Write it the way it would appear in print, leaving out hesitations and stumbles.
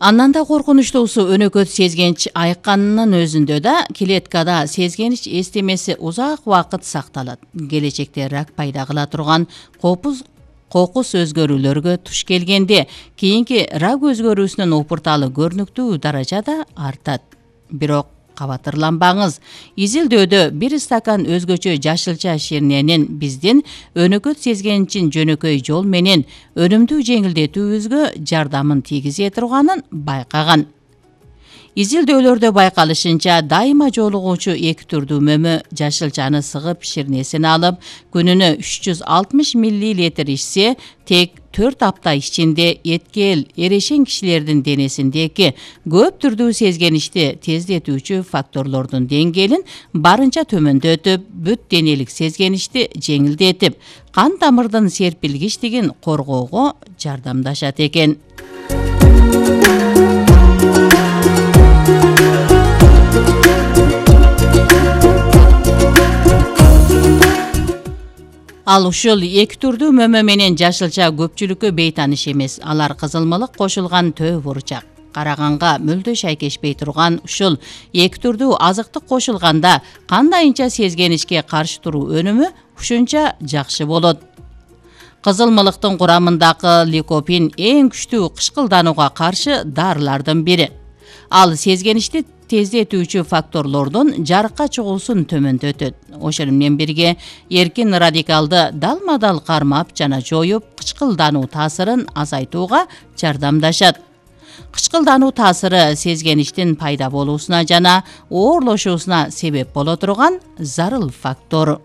Андан да коркунучтуусу өнөкөт сезгенич айыкканынын өзүндө да клеткада сезгенич эстемеси узак убакыт сакталат. Келечекте рак пайда кыла турган кокус өзгөрүүлөргө туш келгенде кийинки рак өзгөрүүсүнүн опурталы көрүнүктүү даражада артат. Бирок кабатырланбаңыз. Изилдөөдө бир стакан өзгөчө жашылча ширненин биздин өнөкөт сезгеничин жөнөкөй жол менен өнүмдүү жеңилдетүүбүзгө жардамын тийгизе турганын байкаган. Изилдөөлөрдө байкалышынча дайыма жолугуучу эки түрдүү мөмө жашылчаны сыгып ширнесин алып, күнүнө 360 мл ичсе, тек 4 апта ичинде эткел эрешен кишилердин денесиндеги көп түрдүү сезгеничти тездетүүчү факторлордун деңгээлин барынча төмөндөтүп, бүт денелик сезгеничти жеңилдетип, кан тамырдын серпилгичтигин коргоого жардамдашат экен. Ал ушул эки түрдүү мөмө менен жашылча көпчүлүккө бейтааныш эмес. Алар кызылмылык кошулган төө бурчак. Караганга мүлдө шайкешпей турган ушул эки түрдүү азыктык кошулганда кандайынча сезгеничке каршы туруу өнүмү ушунча жакшы болот. Кызылмылыктын курамындагы ликопин эң күчтүү кышкылданууга каршы дарылардын бири. Ал сезгеничти тездетүүчү факторлордун жарыкка чыгуусун төмөндөтөт. Ошол менен бирге эркин радикалды далма-дал кармап жана жоюп, кычкылдануу таасырын азайтууга жардамдашат. Кычкылдануу таасыры сезгеничтин пайда болуусуна жана оорлошуусуна себеп боло турган зарыл фактор.